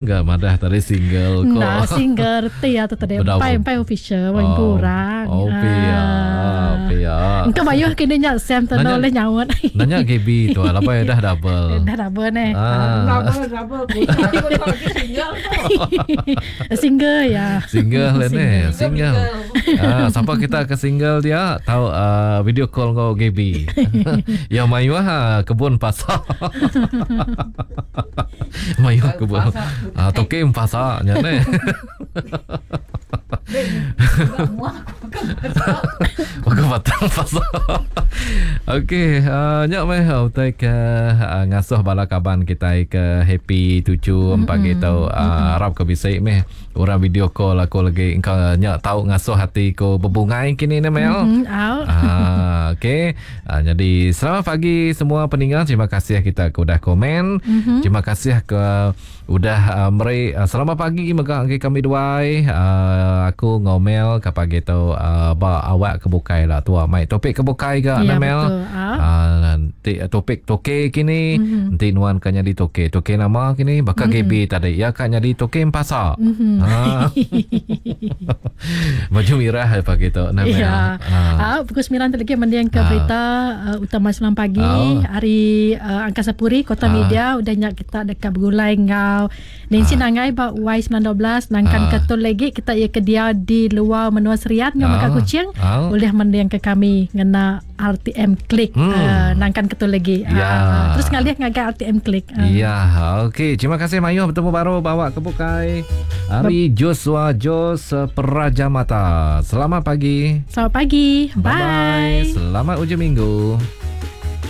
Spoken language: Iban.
Ga madah tadi single ko. Enda single reti ya tu tadi. Empai empai official oh, empu orang. Oh pia. Ah. Pia. Engka mayuh kini nya Sam tu oleh nyaut. Nanya GB tu lah laban dah double. Dah double ne. Ah. Double double. Single. Single ya. Single le ne. Single. Ah, siapa kita ke single dia tahu uh, video call ngau GB. Ya mayuh ha, kebun pasar. Mayuh ke buah. Ah, toke empasa nya ne. Bukan batang pasal. Okey, uh, nya meh utai ke uh, ngasuh bala kaban kita ke happy tuju mm-hmm. pagi tu. Uh, harap ke bisi meh orang video call aku lagi engkau nya tau ngasuh hati ku bebungai kini ne Mel. Mm-hmm. Ah, okey. Uh, jadi selamat pagi semua peninga. Terima kasih kita ke udah komen. Mm-hmm. Terima kasih ke udah uh, meri uh, selamat pagi mega agi kami duai. Uh, aku ngomel ke pagi tu uh, ba awak ke bukai lah tua mai topik ke bukai ga ya, Mel. Uh, nanti topik toke kini mm-hmm. nanti nuan ka nyadi toke. Toke nama kini baka mm-hmm. GB tadi ya ka nyadi toke empasa. Mm-hmm. Uh. Baju mirah pagi tu nama. Ya. Ah. pukul 9 lagi mending ke ah. berita uh, utama 9 pagi oh. hari uh, Angkasa Puri Kota ah. Media udah nyak kita dekat bergulai ngau Nancy ah. Nangai ba Y912 nangkan ah. ketul lagi kita ia ke dia di luar menua Serian ngau ah. Kuching ah. boleh mending ke kami ngena RTM Klik hmm. uh, nangkan ketul lagi. Ya. Uh, terus ngalih ngagai RTM Klik. Uh. Ya, okey. Terima kasih Mayu bertemu baru bawa ke bukai. Hari Joshua Jos Prajamata. Selamat pagi. Selamat pagi. Bye. Bye. Selamat hujung minggu.